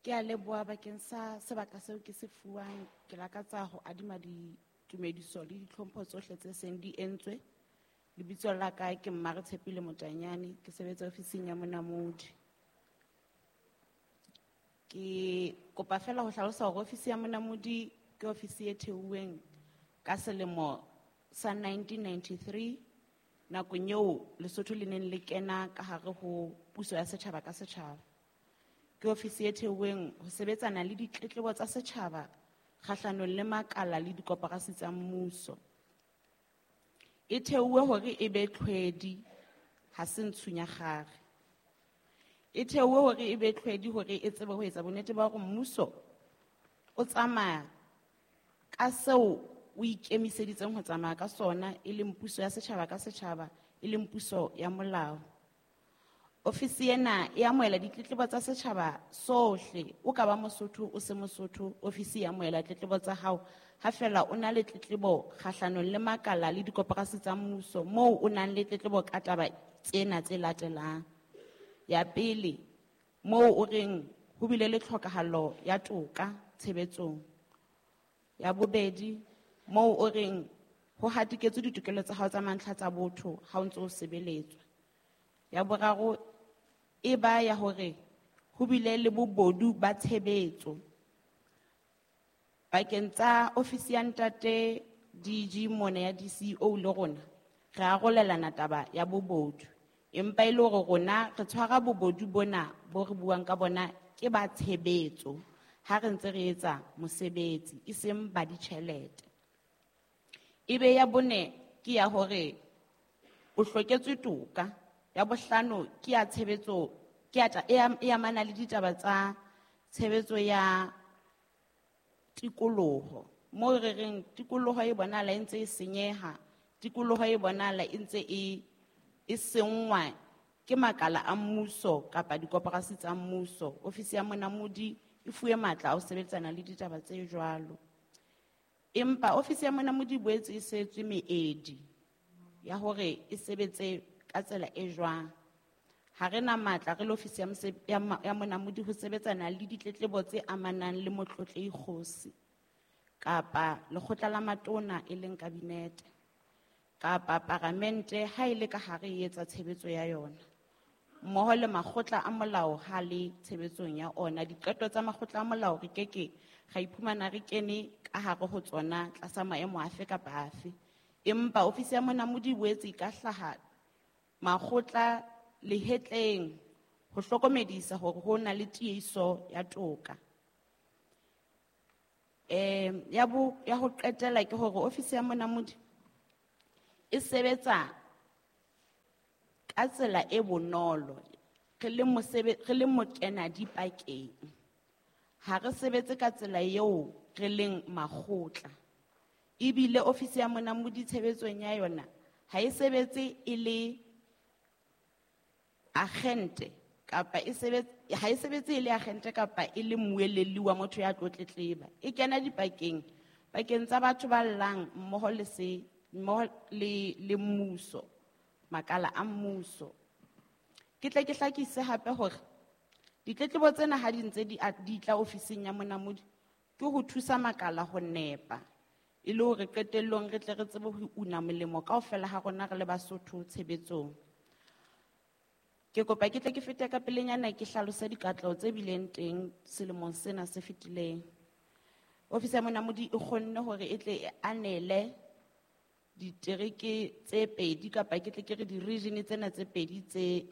Ke a leboha bakeng sa sebaka seo ke se fuwang. Ke lakatsa ho adima ditumediso le ditlhompho tsohle tse seng di entswe. Lebitso la ka ke Mmare Tshepile Motanyane, ke sebetsa ofising ya Monamodi. Ke kopa fela ho hlalosa hore ofisi ya Monamodi ke ofisi e theuweng ka selemo sa 1993, nakong eo Lesotho le neng le kena ka hare ho puso ya setjhaba ka setjhaba. Ke ofisi e theuweng ho sebetsana le ditletlebo tsa setjhaba kgahlanong le makala le dikoporasi tsa mmuso. E theuwe hore e be tlhwedi, ha se ntshunyakgare. E theuwe hore e be tlhwedi hore e tsebe ho etsa bonnete ba hore mmuso o tsamaya ka seo o ikemiseditseng ho tsamaya ka sona, e leng puso ya setjhaba ka setjhaba, e leng puso ya molao. Ofisi ena e amohela ditletlebo tsa setjhaba sohle. O ka ba Mosotho, o se Mosotho, ofisi e amohela tletlebo tsa hao. Ha fela o na le tletlebo kgahlanong le makala le dikoporasi tsa mmuso, moo o nang le tletlebo ka taba tsena tse latelang. Ya pele, moo o reng ho bile le tlhokahalo ya toka tshebetsong. Ya bobedi, moo o reng ho hatiketswe ditokelo tsa hao tsa mantlha tsa botho ha o ntso o sebeletswa. Ya boraro, e ba ya hore ho bile le bobodu ba tshebetso. Pakeng tsa ofisi ya ntate DG mona ya DCO le rona, re arolelana taba ya bobodu. Empa e le hore rona re tshwara bobodu bona bo re buang ka bona ke ba tshebetso ha re ntse re etsa mosebetsi, e seng ba ditjhelete. Ebe ya bone ke ya hore o hloketswe toka. Ya bohlano ke ya tshebetso, ke ya ta-, e am-, e amana le ditaba tsa tshebetso ya tikoloho. Moo re reng tikoloho e bonahala e ntse e senyeha, tikoloho e bonahala e ntse e senngwa ke makala a mmuso kapa dikoporasi tsa mmuso. Ofisi ya Monamodi e fuwe matla a ho sebetsana le ditaba tse jwalo. Empa ofisi ya Monamodi e boetse e setswe meedi ya hore e sebetse ka tsela e jwang. Ha re na matla re le ofisi ya ya ya Monamodi ho sebetsana le ditletlebo tse amanang le motlotlehi kgosi kapa lekgotla la matona e leng kabinete kapa paramente ha e le ka hare e etsa tshebetso ya yona, mmoho le makgotla a molao ha le tshebetsong ya ona. Diqeto tsa makgotla a molao re keke ra iphumana re kene ka hare ho tsona tlasa maemo afe kapa afe. Empa ofisi ya Monamodi e boetse e ka hlaha makgotla lehetleng ho hlokomedisa hore ho na le tiehiso ya toka. Ya bo, ya ho qetela ke hore ofisi ya Monamodi e sebetsa ka tsela e bonolo, re le mosebe-, re le mokena dipakeng. Ha re sebetse ka tsela eo re leng makgotla. Ebile ofisi ya Monamodi tshebetsong ya yona ha e sebetse e le agente kapa e sebetse, ha e sebetse e le agente kapa e le mmuelelli wa motho ya tlo tletleba. E kena dipakeng, pakeng tsa batho ba llang mmoho le se, mmoho le, le mmuso, makala a mmuso. Ke tle ke hlakise hape hore ditletlebo tsena ha di ntse di tla ofising ya Monamodi ke ho thusa makala ho nepa, e le hore qetellong re tle re tsebe ho una molemo kaofela ha rona re le Basotho tshebetsong. Ke kopa ke tle ke fete ka pelenyana ke hlalose dikatleho tse bileng teng selemong sena se fetileng. Ofisi ya Monamodi e kgonne hore e tle e anele ditereke tse pedi kapa ke tle ke re di-region tsena tse pedi tse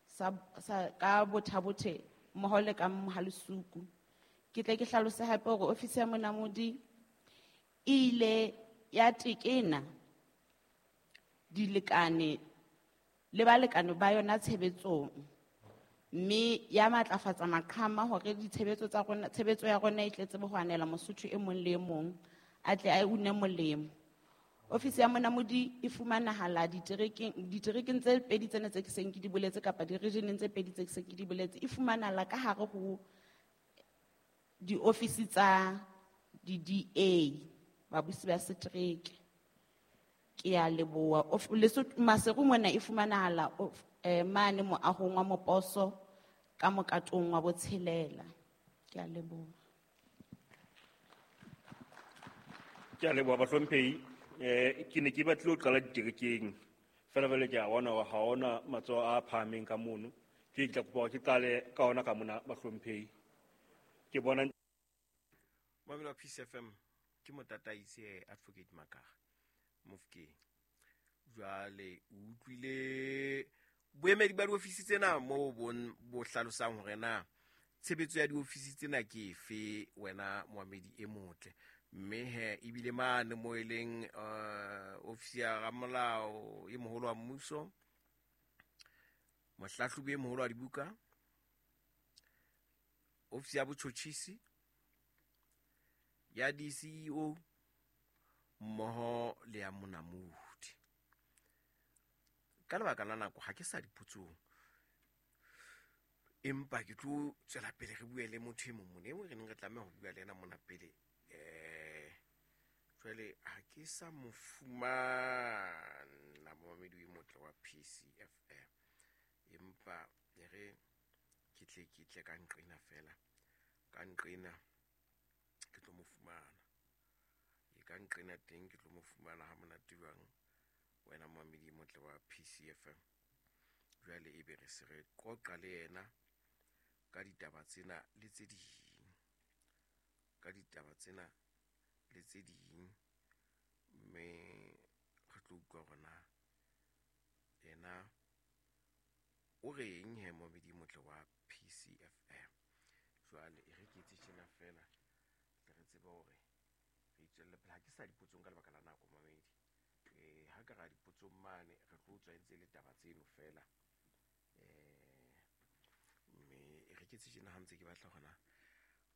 sa, sa, ka Botha-Bothe mmoho le ka Mohalesuku. Ke tle ke hlalose hape hore ofisi ya Monamodi e ile ya tekena dilekane le balekane ba yona tshebetsong, mme ya matlafatsa maqhama hore ditshebetso tsa rona, tshebetso ya rona e tle tsebe ho anela Mosotho e mong le e mong a tle a une molemo. Ofisi ya Monamodi e fumanahala diterekeng tse pedi tsena tse ke seng ke di boletse kapa di-regioneng tse pedi tse ke seng ke di boletse, e fumanahala ka hare ho diofisi tsa di-D A, babusi ba setereke. Ke a leboha. Lesotho, Maseru mona e fumanahala mane moahong wa Moposo ka mokatong wa botshelela. Ke a leboha. Ke a leboha bahlomphehi. Ke ne ke batlile ho qala diterekeng. Fela jwale ke a bona hore ha hona matsoho a phahameng ka mono. Ke tla kopa hore ke qale ka ona ka mona bahlomphehi. Ke bona Mamelo wa Peace FM ke motataise Advocate Makaga Mofokeng. Jwale o utlwile boemedi ba diofisi tsena moo bo hlalosang hore na tshebetso ya diofisi tsena ke efe wena moamedi e motle. Mme he ebile mane mo e leng ofisi ya ramolao e moholo wa mmuso, mohlahlobi e moholo wa dibuka, ofisi ya botjhotjhisi, ya DCEO mmoho le ya monamodi. Ka lebaka la nako ha ke sa dipotsong, empa ke tlo tswela pele re bue le motho e mong mona, e mong re neng re tlameha ho bua le yena mona pele. Jwale ha ke sa mo fumana momamedi e motle wa PCFM, empa e re ke tle ka nqena fela, ka nqena ke tlo mo fumana. E ka nqena teng ke tlo mo fumana ha monate jwang wena momamedi e motle wa PCFM. Jwale ebe re se re qoqa le yena ka ditaba tsena le tse ding, ka ditaba tsena le tse ding, mme re tlo utlwa hore na yena o reng he momamedi e motle wa PCFM. Jwale e re ke etse tjena fela tle re tsebe hore re itswelle pele. Ha ke sa dipotsong ka lebaka la nako momamedi. Ha ka ra dipotsong mane re tlo tswa ntse le taba tseno fela. Mme e re ke etse tjena ha ntse ke batla hona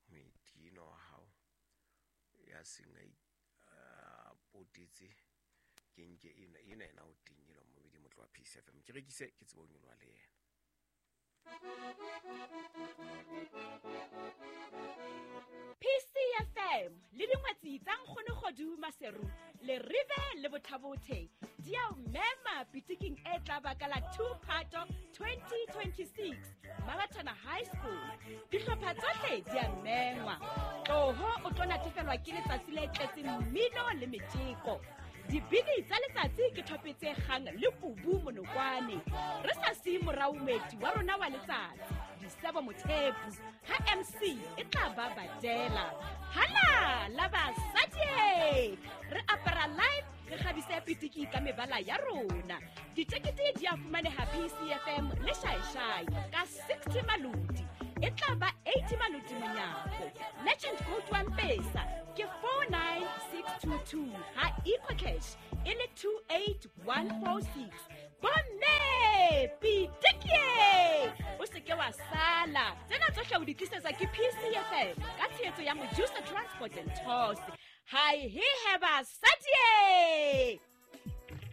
moeti enwa wa hao ya seng a potetse ke nke ena ena o teng enwa momamedi e motle wa PCFM. Ke rekise ke tsebe ho nyoloha le yena. PCFM le dingwetsi tsa Nkgono Kgodu Maseru le Rive le Bothabothe di a o mema pitiking e tla ba ka la 2 Phato 2026 Mabatana High School. Dihlopha tsohle di a mengwa. Tloho o tlo natefelwa ke letsatsi le tletseng mmino le metjeko. Dibini tsa letsatsi ke thope tse kgang le kubu monokwane. Re sa siye morao moeti wa rona wa letsatsi, Disebo Mothepu, ha MC e tla ba badela. Hala la basadi! Re apara live, re kgabise pitiki ka mebala ya rona. Ditekete di a fumaneha PCFM le Shaeshai ka 60 maloti. E tla ba 80 maloti monyako. Merchant code wa Mpesa ke 49622 ha EcoCash e le 28146. Bomme pitikie! O se ke wa sala. Tsena tsohle o di tlisetswa ke PCFM ka tshehetso ya Mojusa Transport and Tours. Hai he he basadi!